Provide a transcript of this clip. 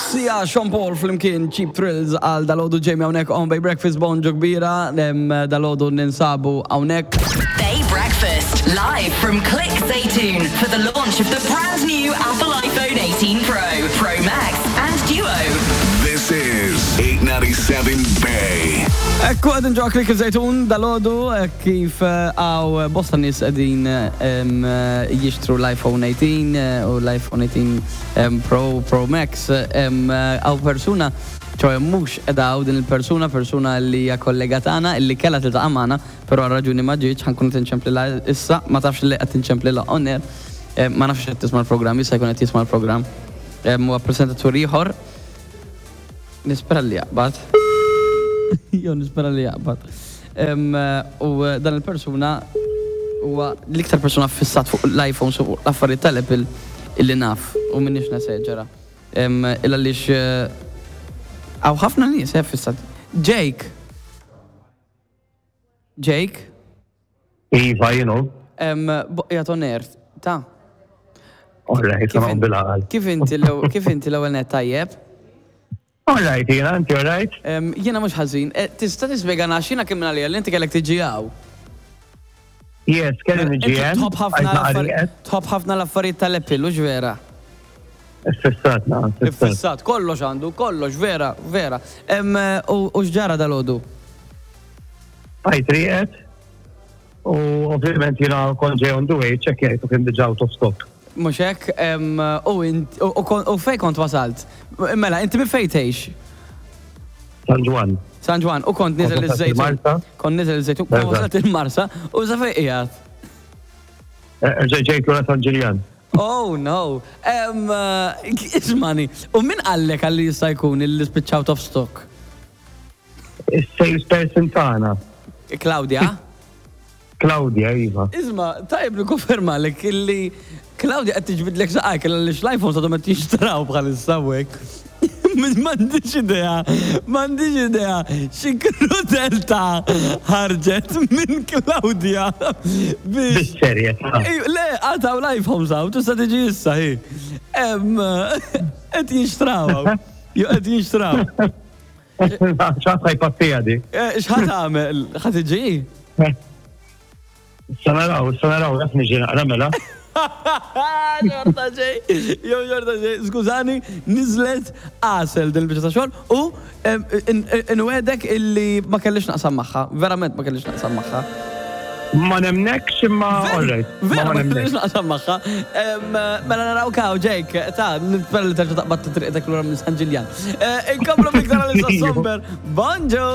Sia, Sean Paul flimkien Cheap Thrills għal dalodu Jamie hawnhekk on Bay Breakfast bonġu kbira, dalodu ninsabu hawnhekk. Bay Breakfast, live from Click Zaytoon for the launch of the brand new Apple iPhone 18 Pro, Pro Max and Duo. This is 897 Bay. Ekku għedin ġo Click Zaytoon dalodu kif għaw bosta nis għedin jixtru l-iPhone 18 u l-iPhone 18 Pro, Pro Max, għaw persuna, ċoħe mux edaw din il-persuna, persuna li hija kollega tagħna illi kellha tiltaqa' magħna, però għal raġuni ma ġietx, ħankun qed inċemplilha issa, ma tafx li qed inċemplilha on air, ma nafx qed tisma' l-programm, jista' jkun qed jisma' l-programm. Huwa presentatur ieħor. Nispera li jaqbad. Jew nispera li jaqbad. U dan il-persuna huwa l-iktar persuna fissat fuq l-iPhones u fuq l-affarijiet tal-Apple illi naf u m'iniex neseġera. Il għaliex hawn ħafna nies eh fissat. Jake! Jake? Iva, jien hu. Qiegħed on air, ta. All right, Kif noqgħod in- bil-għaqal. Kif inti l-ewwel kif inti l-ewwel net tajjeb? All right, jiena, inti all right? Em, Jiena mhux ħażin. Eh, Tista' tispjegana għax jiena kien minn għalija li inti kellek tiġi hawn. Yes, kelli niġi Inti hemm. Tħobb ħafna għajt naqra l-affarijiet rieqed. tħobb ħafna l-affarijiet tal-Apple, hux vera? Iffissat, naqra, iffissat. Iffissat, kollox għandu, kollox, vera, vera. Em, U u x'ġara dalgħodu? Għajt rieqed. U ovvjament jiena kont ġej on the way, ċekkjajt u kien diġà out of stock. Mhux hekk, u int, u fejn kont wasalt? Mela, inti minn fejn tgħix? San Ġwann. San Ġwann, u kont niżel iż-Żejtun. Kont niżel iż-Żejtun, kont wasalt il-Marsa, u sa fejn qiegħed? Erġa' ġejt lura San Ġiljan. Oh no! Ismani, u min qallek għalli jista' jkun illi spiċċa out of stock? Is-salesperson tagħna. Claudia? Claudia, iva. Isma, tajjeb nikkonfermalek illi Claudia qed tiġbidlek saqajk għaliex l-iPhones għadhom qed jinxtraw bħalissa hawnhekk. M'għandix idea, m'għandix idea xi krudeltà ħarġet minn Claudia biex. Bis-serjetà. Le, għad hawn l-iPhones hawn, tista' tiġi issa hi. Qed jinxtraw hawn. Qed jinxtraw. X'ħadd ħa jpattiha di. Eh, x'ħa tagħmel? Ħa tiġi? Issa naraw, issa naraw, jaf niġi naqra mela. Xorta ġej, jew xorta ġej, skużani, niżlet għasel din il-biċċa ta' xogħol u nwedek illi ma kellix naqsam magħha, verament ma kellix naqsam magħha. Ma nemnekx imma all right. Vera ma kellix naqsam magħha. Mela naraw kaw Jake, ta' nispera li terġa' taqbad triqtek lura minn San Ġiljan. Eh, inkomplu biktar għal Somber. Bonġu!